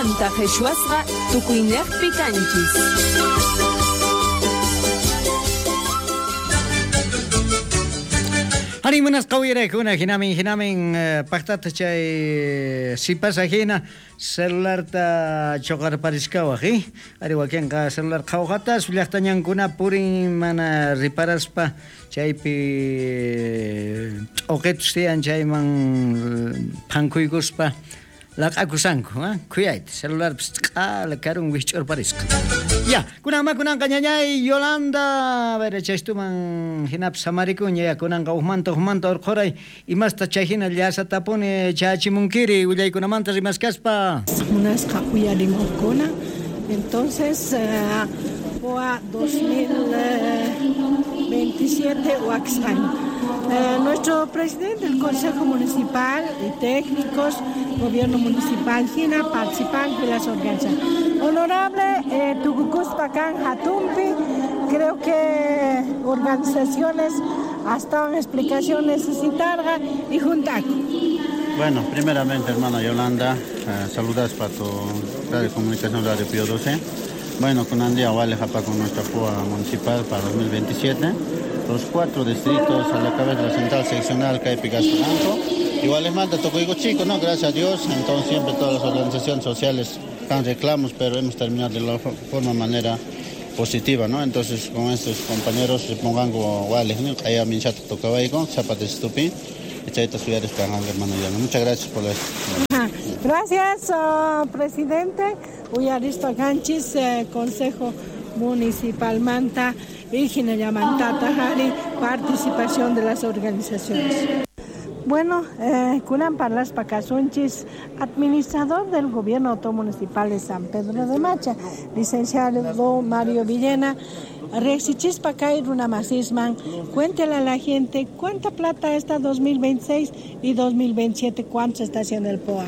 Mach'aymanta qhishwasqa tukuynejpi kanchis. Arí, munasqa uyaraykuna, hinamin, hinamin, paqtata chay sipasa hina celularta choqarpariskawaq, eh? Ari wakinqa celular qhawqatas llaqta ñankuna purin mana riparaspa chaypi t'uqitus tiyan chayman phankuykuspa laq'akusanku, eh? Khuyayta celularpis q'ala karun wijch'urparisqa. Ya, kunanma kunanqa ñañay Yolanda, a ver, chaystuman hinapis samarikuña, ya kunanqa ujmanta ujmanta urqhuray imasta chay hina llasatapuni chachimunkiri willaykunamanta rimaskaspa. Munasqa uyarimuqkuna, entonces POA 2027 Huaxpan. Nuestro presidente del Consejo Municipal y técnicos, gobierno municipal, Gina, participantes de las organizaciones. Honorable Tucucuspacan Hatumpi, creo que organizaciones hasta una explicación necesitará y juntaco. Bueno, primeramente, hermana Yolanda, saludas para tu radio de comunicación Radio Pío 12. Bueno, con Andía Vale Japa con nuestra POA municipal para 2027. Los 4 distritos a la cabeza de la central seccional Caipi Gasto. Igual les manda Tocoigo Chico, ¿no? Gracias a Dios. Entonces siempre todas las organizaciones sociales están reclamos, pero hemos terminado de la forma manera positiva, ¿no? Entonces con estos compañeros se pongan como iguales, ¿no? Allá Minchato Tocabaico, Zapata Estupín, Chaita Suyares Panganga, hermano Yolanda. Muchas gracias por la... Gracias, presidente. Uyaristo Ganchis, Consejo Municipal Manta y Jinayamantata Jari, participación de las organizaciones. Bueno, Kunan Parlas Pacasunchis, administrador del Gobierno Autónomo Municipal de San Pedro de Macha, licenciado Mario Villena, Rexichispa Kai Runamasisman, cuéntele a la gente cuánta plata está 2026 y 2027, cuánto se está haciendo el POA.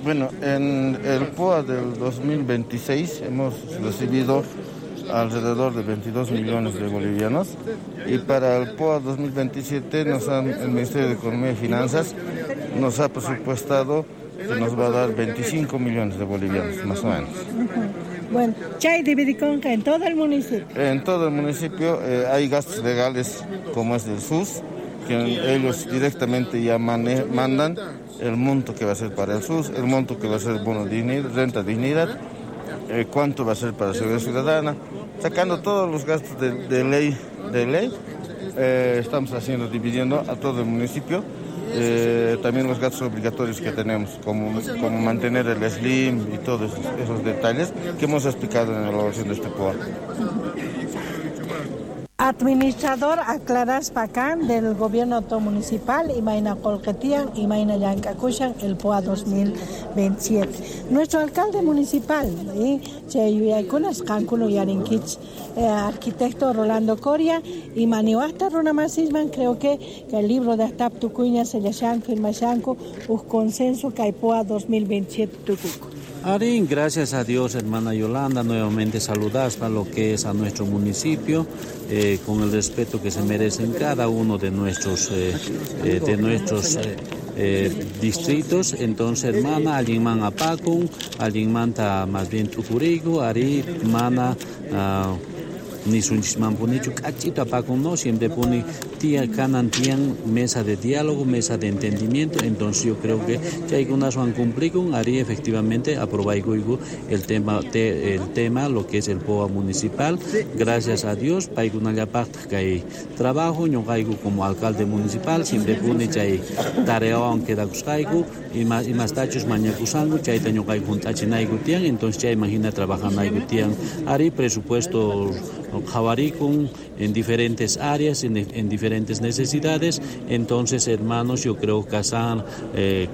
Bueno, en el POA del 2026 hemos recibido alrededor de 22 millones de bolivianos y para el POA 2027 el Ministerio de Economía y Finanzas nos ha presupuestado que nos va a dar 25 millones de bolivianos, más o menos. Bueno, chay dividiconca en todo el municipio. En todo el municipio hay gastos legales como es del SUS, que ellos directamente ya mandan el monto que va a ser para el SUS, el monto que va a ser bono dignidad, renta dignidad, cuánto va a ser para seguridad ciudadana, sacando todos los gastos de ley, estamos dividiendo a todo el municipio, también los gastos obligatorios que tenemos, como mantener el SLIM y todos esos detalles que hemos explicado en la elaboración de este POA. Administrador Aclaras Pacán del Gobierno Municipal, Imaina Colquetian, Imaina Yancacuchan, el POA 2027. Nuestro alcalde municipal, Cheyuyacunas, Cancuno Yarinquich, arquitecto Rolando Coria, y Manihuasta Runamasisman, creo que el libro de Astap Tucuña, Seyashan, Firmashanco, un consenso Caipoa 2027 Tucuco. Arín, gracias a Dios, hermana Yolanda, nuevamente saludas a lo que es a nuestro municipio, con el respeto que se merecen cada uno de nuestros distritos. Entonces, hermana, alguien man apacun, alguien manta más bien tucurigo, ari, mana, ni sunchismampunichu kachito apacun, no, siempre pone tía canan tian mesa de diálogo, mesa de entendimiento. Entonces yo creo que chaykunas van cumplir haría efectivamente aprobaigo el tema lo que es el POA municipal. Gracias a Dios paykunallapaqtaq kay trabajo ñuqayku como alcalde municipal siempre pone chay tareawan quedakusqayku imastachus mañakusanku chayta ñuqayku hunt'achinayku tiyan. Entonces chayman hina trabajanayku tiyan ari presupuesto qhawarikun en diferentes áreas, en diferentes necesidades. Entonces, hermanos, yo creo que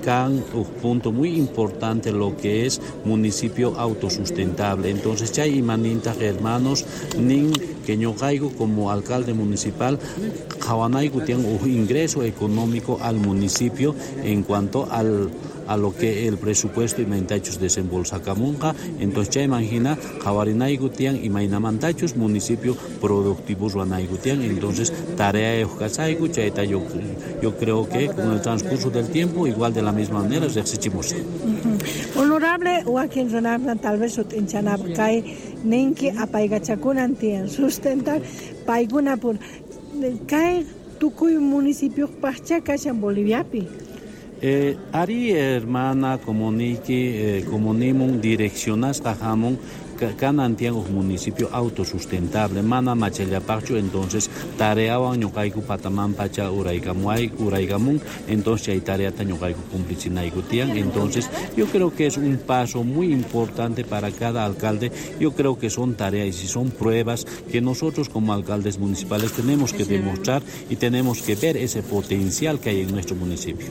can un punto muy importante lo que es municipio autosustentable. Entonces, chay imaninta, hermanos, nin que ñuqayku como alcalde municipal, qhawanayku tiyan un ingreso económico al municipio en cuanto a lo que el presupuesto imaintachus desembolsacamunqa. Entonces chay imagina qhawarinayku tiyan imaynamantachus municipio productivo ruwanayku tiyan. Entonces tarea kasayku chayta yo creo que con el transcurso del tiempo igual de la misma manera riqsichimusaq. Honorable Honorable, wakin runakuna tal vez sut'inchanapaq kay ninki apaykachakunan tiyan sustentar paykuna por kay tukuy municipiopaqcha kashan Boliviapi. Ari hermana comunique comunimun direccionasqa hamun kanan tiyan uj municipio autosustentable mana machallapaqchu, entonces tareawan ñuqayku pataman pacha uraykamun, entonces chay tareata ñuqayku cumplichinayku tiyan. Entonces yo creo que es un paso muy importante para cada alcalde. Yo creo que son tareas y son pruebas que nosotros como alcaldes municipales tenemos que demostrar y tenemos que ver ese potencial que hay en nuestro municipio.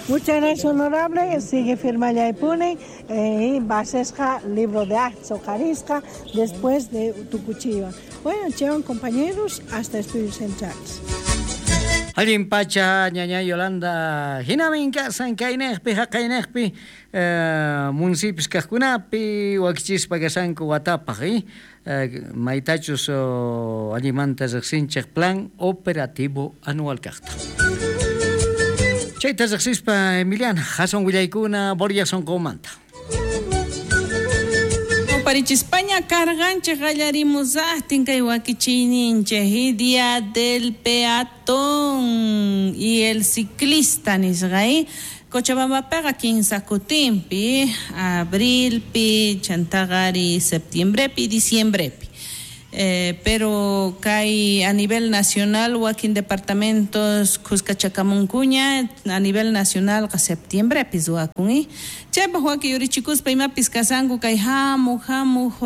Muchas gracias, honorable. Sigue firma Yaipuni y basesja libro de actos Ojarisca después de Tucuchiva. Bueno, llevan compañeros hasta Estudios Centrales. Allin pacha ñaña Yolanda hinamin kasan kaynejpi haqaynejpi municipios kajkunapi wakichispa kasanku watapaj maytachus allimanta riqsinchej plan operativo anual kajta. Chayta riqsispa Emiliana hasan willaykuna Borja sonqomanta. Parichispaña carganchej qallarimusaqtin kay wakichiyninchej Día del Peatón y el Ciclista nisqa Cochabambapiqa 15 kutinpi, abrilpi, chantaqari septiembrepi, diciembrepi. Pero kay a nivel nacional wakin departamentos Cuscachacamuncuña a nivel nacional ka septiembre ruwakun chaypaq waki yurichikuspa imapis kasanku kay hamuq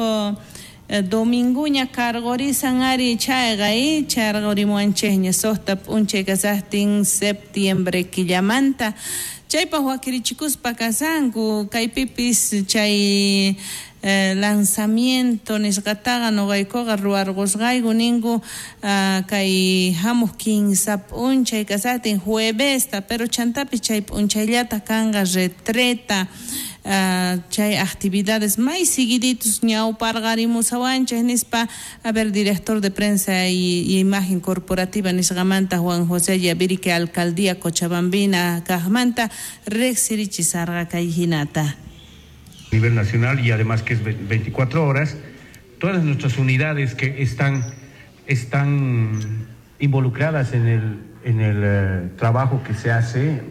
dominguña cargorisan ari chayqa charqurimuwanchikña suqta p'unchay kasaqtin septiembre killamanta chaypaq wakirichikuspa kasanku kaypipis chay lanzamiento nisqataqa nuqaykuqa ruwarqusqayku ninku kay hamuq 15 p'unchay kasaqtin juevesta, pero chantapis chay p'unchayllata kanqa retreta chay actividades may seguiditos ñawparqarimusawanchik nispa. A ver, director de prensa y imagen corporativa nisqamanta Juan José Yavirique alcaldía Cochabambina kaqmanta riqsirichisarqa kay hinata. A nivel nacional y además que es 24 horas, todas nuestras unidades que están involucradas en el trabajo que se hace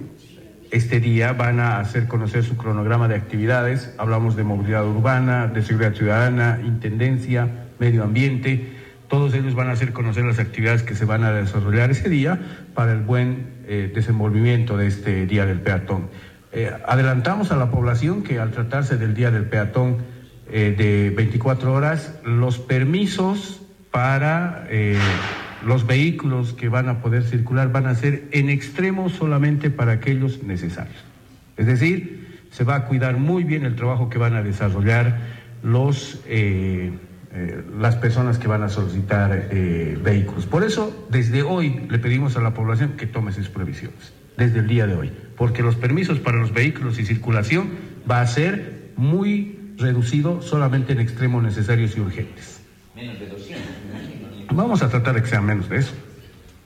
este día van a hacer conocer su cronograma de actividades. Hablamos de movilidad urbana, de seguridad ciudadana, intendencia, medio ambiente. Todos ellos van a hacer conocer las actividades que se van a desarrollar ese día para el buen desenvolvimiento de este Día del Peatón. Adelantamos a la población que al tratarse del Día del Peatón de 24 horas, los permisos para los vehículos que van a poder circular van a ser en extremo solamente para aquellos necesarios. Es decir, se va a cuidar muy bien el trabajo que van a desarrollar las personas que van a solicitar vehículos. Por eso, desde hoy le pedimos a la población que tome sus previsiones, desde el día de hoy, porque los permisos para los vehículos y circulación va a ser muy reducido solamente en extremos necesarios y urgentes. Menos de 200, me imagino. Vamos a tratar de que sean menos de eso.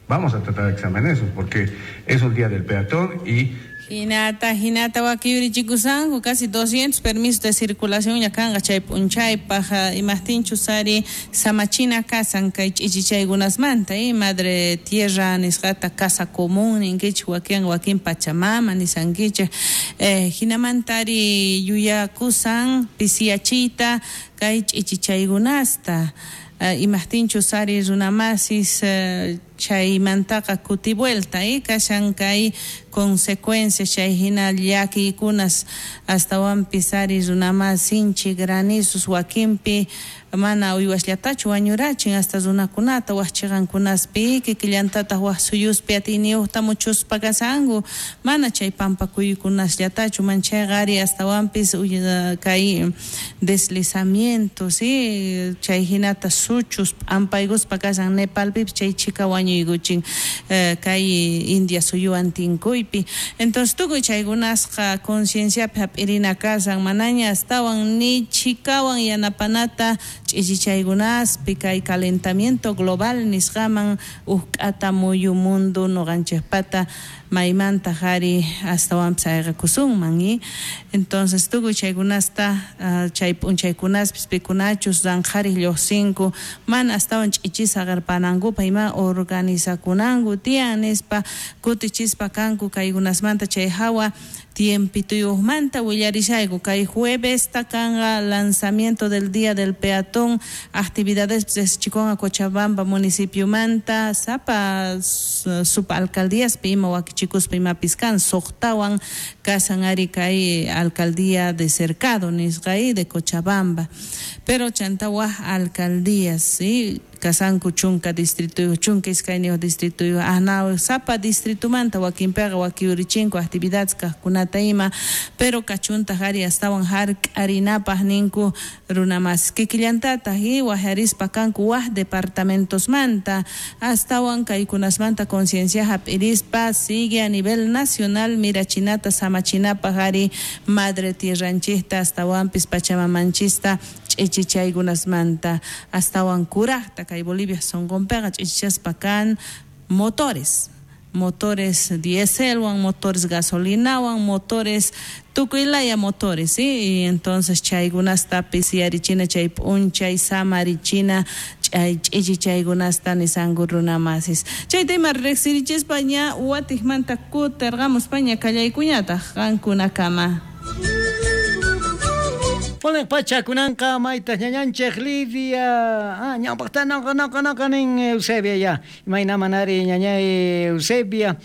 Vamos a tratar de que sean menos de eso, porque es un día del peatón y... Hinata wakiyurichikusanku casi 200 permisos de circulación ya kanqa chay p'unchaypaq imaqtinchus ari samachina kasan kay ch'ichichaykunasmanta madre tierra nisqata casa común ninkichik wakin pachamama nisankichik hinamanta ari yuyakusan pisiyachiyta kay ch'ichichaykunasta imaqtinchus ari runamasis chaymantaqa kutivuelta kashan kay consecuencias chay hina llakiykunas astawanpis ari runamas sinchi granizos wakinpi mana uywasllatachu wañurachin hasta runakunata waqchiqankunaspi kikillantataq waq suyuspi atiyniyuqta muchuspa kasanku mana chay pampakuykunasllatachu manchayqa ari astawanpis kay deslizamientos chay hinata suchus p'ampaykuspa kasan Nepalpipis chay chika wañuykuchin kay India suyuwan tinkuypi. Entonces tukuy chaykunasqa concienciapi hap'irina kasan manaña astawan ni chikawan yanapanata ch'ichichaykunaspi kay calentamiento global nisqaman uqk'ata muyu mundo nuqanchikpata maymantaq ari astawanpis ayqakusunman y entonces tukuy chaykunasta chay p'unchaykunaspis pikunachus ranqhariq lluqsinku mana astawan ch'ichisa qirpanankupaq ima organizakunanku tiyan nispa kutichispa kanku kaykunasmanta chay hawa tiempituyuqmanta willarishayku kay juevesta kanqa lanzamiento del día del peatón actividades riqsichikunqa Cochabamba municipiomanta sapa subalcaldíaspi ima wakichikuspa imapis kan suqtawan kasan ari kay alcaldía de Cercado nisqa de Cochabamba pero chanta waj alcaldías ¿sí? Kasanku chunka distrito chunka iskayniyuq distrito ahnaw sapa distritumanta wakinpiqa wakiyurichinku actividades kaqkunata ima pero kachuntaq ari astawan hark'arinapaq ninku runamas kikillantataq y wajarispa kanku waj departamentosmanta astawan kaykunasmanta conciencia hap'irispa sigue a nivel nacional mirachinata samachinapaq ari madre tierranchikta astawanpis pachamamanchista ch'ichichaykunasmanta astawan kuraqta kay Bolivia sonqonpiqa ch'ichichaspa kan motores dieselwan, motores gasolinawan, motores tukuylaya motores, ¿sí? Y entonces chaykunastapis yarichina chay p'unchay samarichina chay ch'ichichaykunasta nisanku runamasis. Chayta ima riqsirichispa ña watiqmanta kutirqamuspa ña kallaykuñataq qankunakama. Ponen pacha kunanqa maytas ñañanchej Lidia. Ñawpaqta noqa nin Eusebia ya. Imayna manari ñañay Eusebia.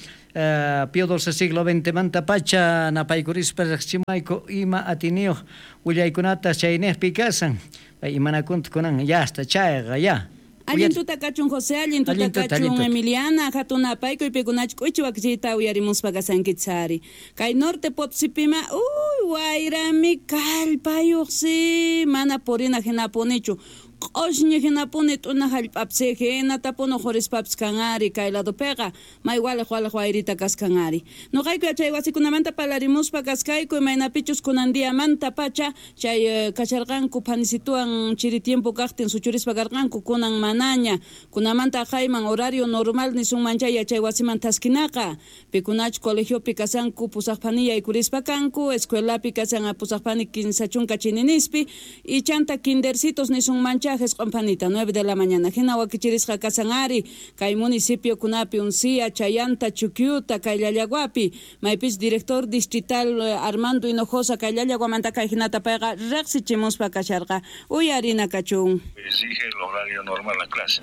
Pío XII siglo XX manta pacha napaykurispa riqsichimayku ima atiniyuq willaykunata chaynejpi kasan. Imanakunta kunan ya hasta chayqa ya. Allin tuta kachun José, allin tuta kachun Emiliana, hatun apaykuy pikunach k'uchi wakichiyta uyarimuspa kasankichari. Kay norte Potosipima, uy, wayrami kallpayuqsi, mana purina hinapunichu. Q'ushñi hinapuni t'una hallp'apsi hinatapuni qurispapis kanari kay ladopiqa may waliq waliq wayrita kaskanari. Nuqayku yachay wasikunamanta parlarimuspa kaskayku imaynapichus kunan diamanta pacha chay kasharqanku phanisituwan chiri tiempo kaqtin suchurispa karqanku kunan manaña kunamanta aqayman horario normal nisunman chay yachay wasiman taskinaqa pikunach colegiopi kasanku pusaqphani yaykurispa kanku escuelapi kasan pusaqphani 15 chininispi y chanta kindercitos nisunman chay Panita, 9 de la mañana. Hina wakichirisqa kasan ari, kay municipio kunapi Uncía, Chayanta, Chuquiuta, kay Llallaguapi, maypis director distrital Armando Hinojosa, kay Llallaguamanta kay hinata payqa riqsichimuspa kasharqa. Uyarina kachun. Exige el horario normal a la clase.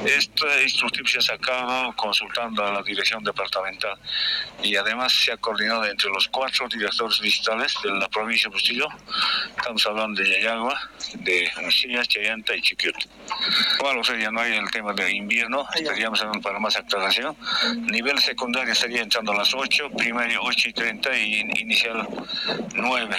Este instructivo se ha sacado consultando a la dirección departamental y además se ha coordinado entre los 4 directores distritales de la provincia de Bustillo. Estamos hablando de Llallagua, de Uncía, Chayanta y Chiquiuta. Bueno, o sea, ya no hay el tema de invierno, estaríamos hablando para más aclaración. Nivel secundario estaría entrando a las 8, primaria 8:30 y inicial 9.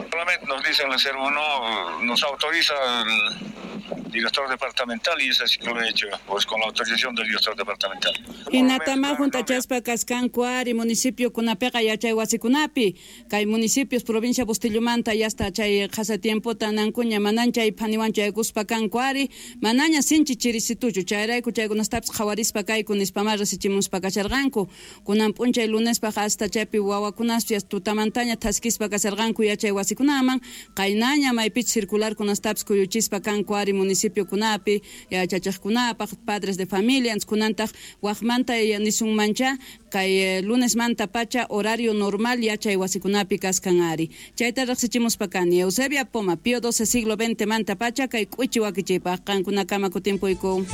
Solamente nos dicen el 01, nos autoriza el director departamental y es así que lo he hecho, pues con la autorización del director departamental. Hinatama juntachaspa kaskanku ari municipio kunapiqa yachay wasikunapi kay municipios provincia Bustillomanta ya hasta chay qhasa tiempota nankuña manan chay phaniwan chaykuspa kanku ari manaña sinchi chirisituchu chayrayku chaykunastapis qhawarispa kayku nispama risichimuspa kasharqanku kunan p'unchay lunespaq hasta chaypi wawakunaspi tutamantaña thaskispa kasharqanku yachay wasikunaman qaynaña maypich circular kunastapis kuyuchispa kanku ari municipio kunapi yachachaqkunapaq padres de familia kunantaq waqmanta nisunmancha kay lunesmanta pacha horario normal yachay wasikunapi kaskan ari chayta riqsichimuspa kani Eusebia Poma Pío XII siglo XX manta pacha kay k'uchi wakichiypaq qankunakama kutimpuyku.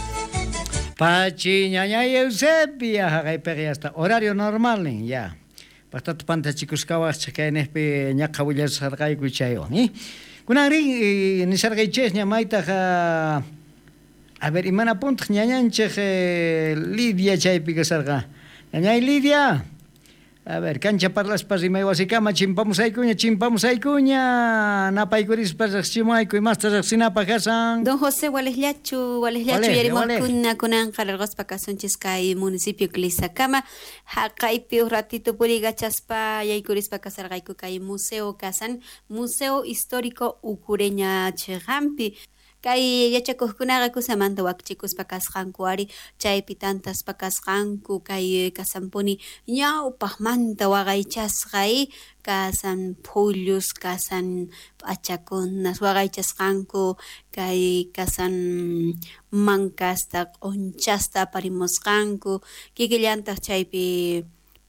Pachi ñañay Eusebia haqaypiqa hasta horario normal nin ya. Paqtata pantachikusqawaqchik kaynejpi ñaqa willasqarqayku chaywan Kunan rin nisarqaychis ña maytaq a ver imana puntaq ñañanchik Lidia chaypi kasarqa. Ñañay Lidia. A ver, cancha parlaspa rimay wasikama chimpamusaykuña chimpamusaykuña napaykurispa riqsichimuayku imasta riqsinapaq kasan. Don José Walesllachu yarimuqkuna kunanqa larquspa kasunchis kay municipio Clisacama haqaypi uj ratito purigachaspa yaykurispa kasarqayku kay museo kasan Museo Histórico Ucureña chiqanpi. Kay yachakuqkunaqa kusamanta wakichikuspa kasqanku ari chaypi tantaspa kasqanku kay kasanpuni ñawpaqmanta waqaychasqa kasan phullus kasan p'achakunas waqaychasqanku kay kasan mankasta q'unchasta aparimusqanku kikillantaq chaypi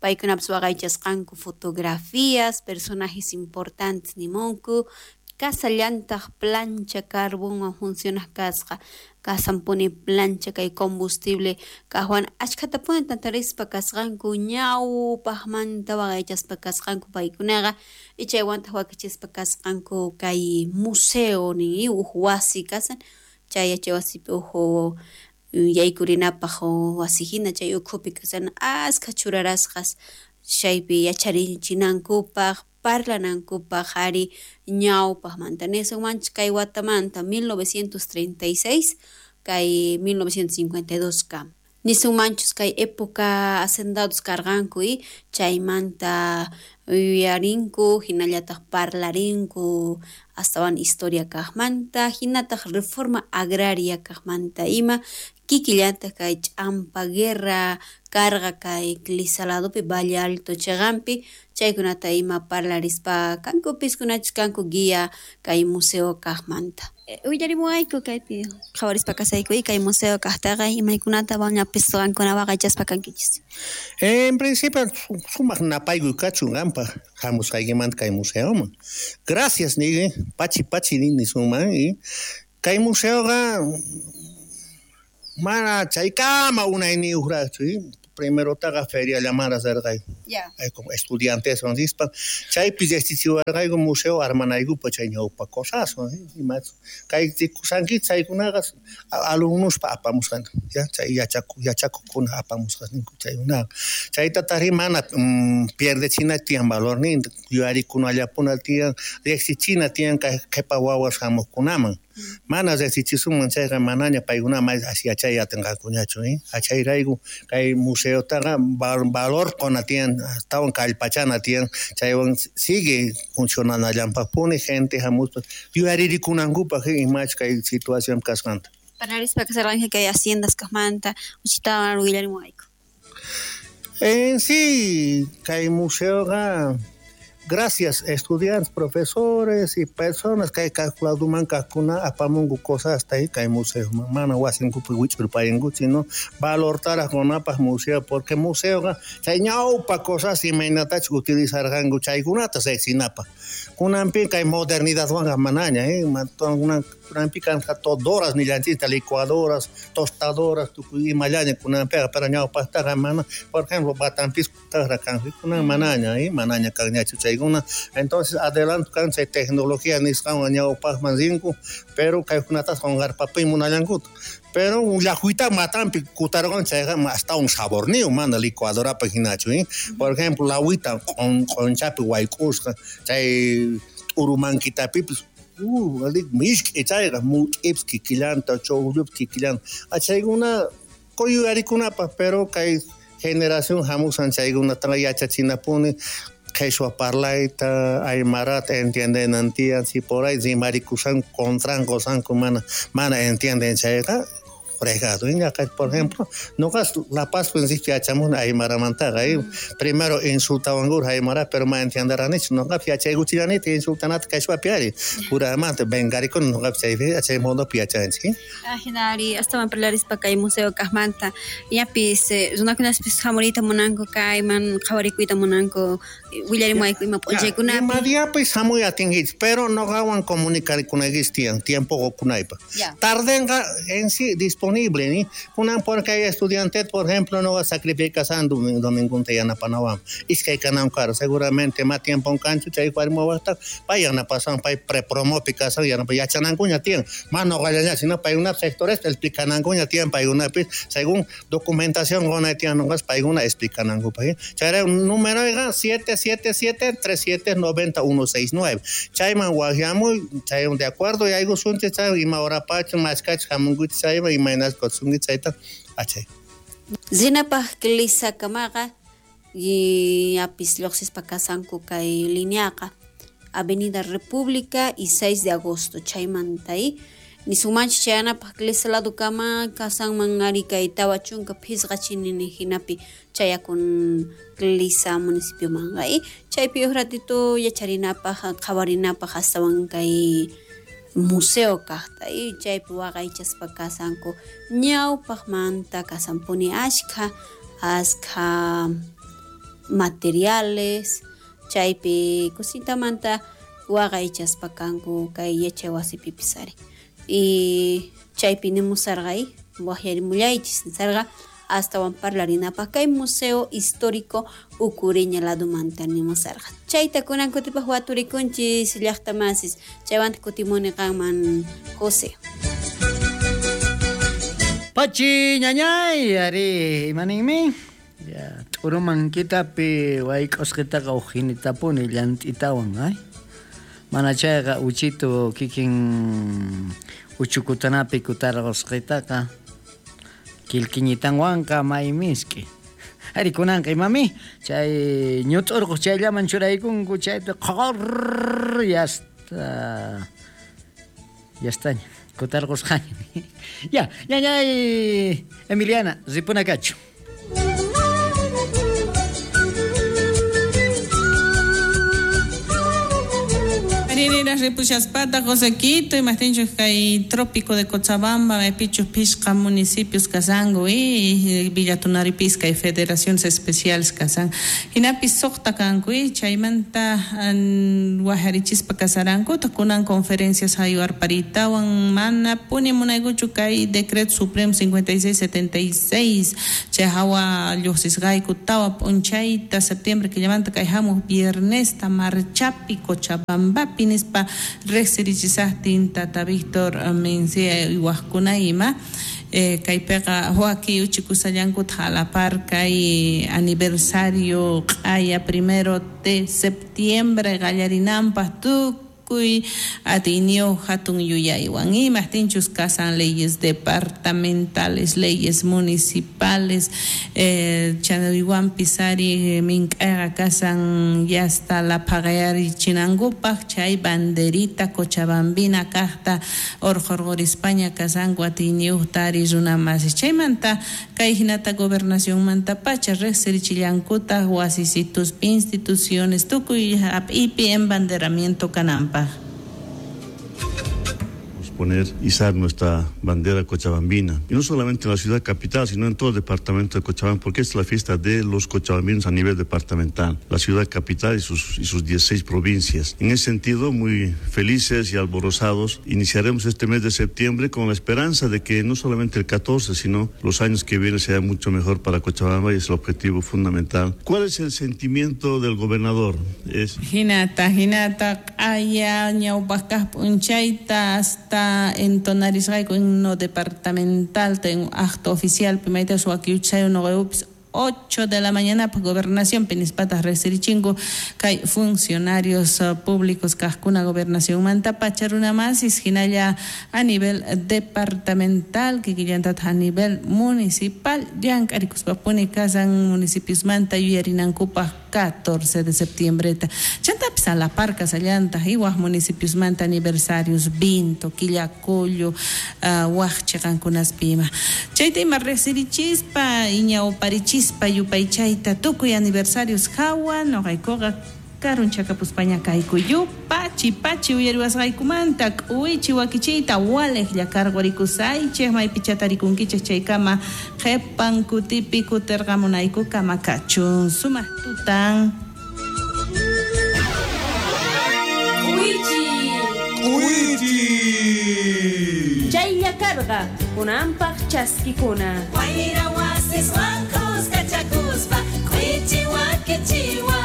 paykunapas waqaychasqanku fotografías personajes importantes nimunku kasallantaq plancha carbonwan funcionaq kasqa kasanpuni plancha kay combustible kaqwan achkhatapuni tantarispa kasqanku ñawpaqmanta waqaychaspa kasqanku paykunaqa y chaywantaq wakichispa kasqanku kay museo nin uj wasi kasan chay yachay wasipi uj yaykurinapaq wasi hina chay ukhupi kasan askha churarasqas chaypi yacharichinankupaq parlanankupaq ari ñawpaqmanta nisunmanchik kay watamanta 1936 kay 1952 kama nisunmanchus kay época hacendados karqanku chaymanta yuyarinku hinallataq parlarinku astawan historia kaqmanta hinataq reforma agraria kaqmanta ima kikillantaq kay ch'ampa guerra karqa kay Cliza ladopi Valle Alto chiqanpi chaykunata ima parlarispa kankupis kunachus kanku guía kay museo kaqmanta. Willarimuwayku kaypi qhawarispa kasayku kay museo kaqtaqa imaykunata ñapis qankuna waqaychaspa kankichis. En principio sumaq napaykuy kachun qanpaq hamusqaykimanta kay museoman. Gracias niyki pachi pachi nisunman kay museoqa mana chaykama unayniyuqraqchu primerotaqa feriallamara rirqayku. Como estudianteswan rispa chaypi riqsichiwarqayku museo armanaykupaq chay ñawpa cosaswan imachu kay rikusanki chaykunaqa alumnospa apamusqanku ya chay yachakuqkuna apamusqanku chaykunaqa chaytataqri mana pierdechina tiyan valorninta yuyarikunallapuna tiyan riqsichina tiyan kay qhipa wawas hamuqkunaman mana riqsichisunman chayqa manaña paykuna yachay atinqakuñachu chayrayku kay museotaqa valor quna tiyan astawan kallpachana tiyan chaywan sigue funcionanallanpaqpuni gente hamuspa yuyarikunankupaq imach kay situación kasqanta. Parlarispa kasarqanki kay haciendas kaqmanta uchitawan willarimuwayku. En sí kay museoqa gracias estudiantes, profesores y personas que calculaduman kaqkuna apamunku cosas hasta ahí kay museo mana wasinkupi wich'urpayanku sino valortaraq qunapaq museo porque museoqa chay ñawpa cosas imaynatachus utilizarqanku chaykunata riqsinapaq kunanpi kay modernidadwanqa manaña kunanpi kanqa todoras nillanchikta licuadoras, tostadoras tukuy imallaña kunanpiqa pero ñawpaqtaqa mana por ejemplo batanpis kaqra kanqa kunan manaña manaña kanñachu chaykuna entonces adelanto kan chay tecnología nisqanwan ñawpaqman rinku pero kaykunatas qunqarpapuy munallankuta pero llaqwita matanpi kutarqan chayqa astawan saborniyuq mana licuadorapa hinachu por ejemplo lawita q'unchapi wayk'usqa chay t'urumankitapipis misk'i chayqa mut'ipis kikillanta chuqllupis kikillanta chaykuna yuyarikunapaq pero kay generación hamusan chaykunataqa yachachinapuni qheshwa parlayta aymarata entiendenan tiyan si por ahí rimarikusanku contrankusanku mana entienden chayqa fregado por ejemplo noqa La Paz principio yachamuni aymaramantaqa primero insultawankur aymara pero ma entienderanichu noqapis yachaykuchillanita insultanata qheshwapi ari puramanta vengarikuni noqapis chay modopi yachanchik. Hinari astawan parlarispa kay museo kaqmanta ñapis runakunaspis hamuriyta munanku kayman qhawarikuyta munanku willarimuwayku ima p'unchaykunapi. Ima diapis hamuy atinkichis pero noqawan comunicarkunaykichis tiyan tiempo qukunaypaq tardenqa en sí disponible ni kunan porque hay estudiantes por ejemplo no sacrificasan domingunta yanapanawan iskay kanan kara seguramente más tiempo kanchu chay warmiwaqta pay yanapasan pay prepromopi kasan yanapa yachanankuña tiyan más noqallaña sino paykuna sectores explicanankuña tiyan paykunapis según documentación qunay tiyan noqas paykuna explicanankupaq chayra numeroyqa 777 37 90 169 chayman waqyamuy chay de acuerdo yaykusunchik chay ima horapachu mashkachu hamunkuchik chayman imayna kutsunki chayta achay. Rinapaq Clizakamaqa ñapis lluqsispa kasanku kay lineaqa Avenida República y 6 de agosto chaymanta Nisunmanchis chayanapaq Clisa ladukama kasanman ari kay 45 chinini hinapi chayakun Clisa municipiomanqa chaypi uj ratito yacharinapaq qhawarinapaq astawan kay museo kaqta chaypi waqaychaspa kasanku ñawpaqmanta kasanpuni ashkha materiales chaypi kusintamanta waqaychaspa kanku kay yachay wasipipis ari y chaypi nimusarqa waqyarimullaychis nisarqa astawan parlarinapaq kay museo histórico Ucureña ladumanta nimusarqa chayta kunan kutipaq waturikunchis llaqtamasis chaywanta kutimuni qanman José. Pachi ñañay ari imaninmi ya t'uruman kitapi wayk'usqitaqa uj hinitapuni llant'itawan ay mana chayqa uchitu kikin uchukutanapi kutarqusqitaqa kilkiñitanwanqa may misk'i ari kunanqa imami chay ñut'urquq chayllaman churaykunku chayta qhor yasta yastaña kutarqusqaña ya ñañay Emiliana ripuna kachu. Ripushaspata Josequito imajtinchus kay trópico de Cochabamba maypichus pishqa municipios kasanku y Villa Tunaripis kay federaciones especiales kasan hinapis suqta kanku chaymanta wajarichispa kasarankuta kunan conferencias haywarparitawan mana puni munaykuchu kay decreto supremo 5676 chay hawa lluqsisqayku tawa p'unchayta septiembre killamanta kay hamuq viernesta marchapi Cochabambapi nispa riqsirichisaqtin tata Víctor Mencía waqkuna ima kaypiqa waki uchikushallankuta jalapar kay aniversario q'aya 1 de septiembre qallarinanpaq tukuy atiyniyuq hatun yuyaywan imajtinchus kasan leyes departamentales, leyes municipales chanaywanpis ari mink'ayqa kasan yasta laphaqayarichinankupaq chay banderita cochabambina kaqta urqurqurispaña kasanku atiyniyuqta ari runamasis chaymanta kay hinata gobernacionmantapacha riqsirichillankutaq wasisituspi instituciones tukuy hap'ipi embanderamiento kananpaq. Poner, izar nuestra bandera cochabambina. Y no solamente en la ciudad capital, sino en todo el departamento de Cochabamba, porque es la fiesta de los cochabambinos a nivel departamental, la ciudad capital y sus 16 provincias. En ese sentido, muy felices y alborozados, iniciaremos este mes de septiembre con la esperanza de que no solamente el 14, sino los años que vienen sea mucho mejor para Cochabamba, y es el objetivo fundamental. ¿Cuál es el sentimiento del gobernador? Es... Hinata, hinata, aya, ñawpaq p'unchayta hasta entonarisqayku himno departamental ten acto oficial pimayta suwakiuchay nuqayupis 8 de la mañana pues gobernación pinispatas riqsirichinku kay funcionarios públicos kaqkuna gobernación mantapacha runamasis hinalla a nivel departamental kikillantataq a nivel municipal llank'arikuspapuni kasan municipiosmanta yuyarinankupaq 14 de septiembre chantapis a la par kasallantaq waj municipiosmanta aniversarios Vinto, Quillacollo, waj chiqankunaspi ima chayta ima riqsirichispa iñawparichispa yupaychayta tukuy aniversarios hawa nuqaykuqa karunchakapuspaña kayku yupachi pachi uyariwasqaykumanta k'uwichi wakichiyta waliqlla karqurikusaychik maypichata rikunkichik chaykama qhipan kutipi kutirqamunaykukama kachun sumaq tutan. K'uwichi K'uwichi chaylla karqa kunanpaq chaskikuna wayra wasiswan kuskachakuspa k'uwichi wakichiwa.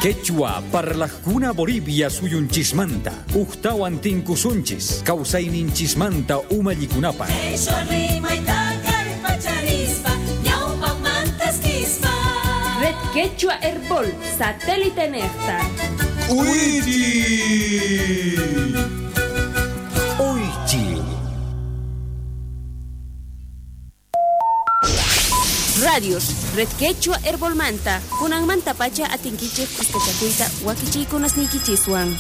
Quechua parlajkuna Bolivia suyunchismanta ujtawan tinkusunchis kawsayninchismanta umallikunapaq. Red Quechua Herbol satélite nejta. Uichi. Uichi. Radios Red Quechua Herbolmanta kunanmanta pacha atinkichik kuskachakuyta wakichiykunasniykichiswan.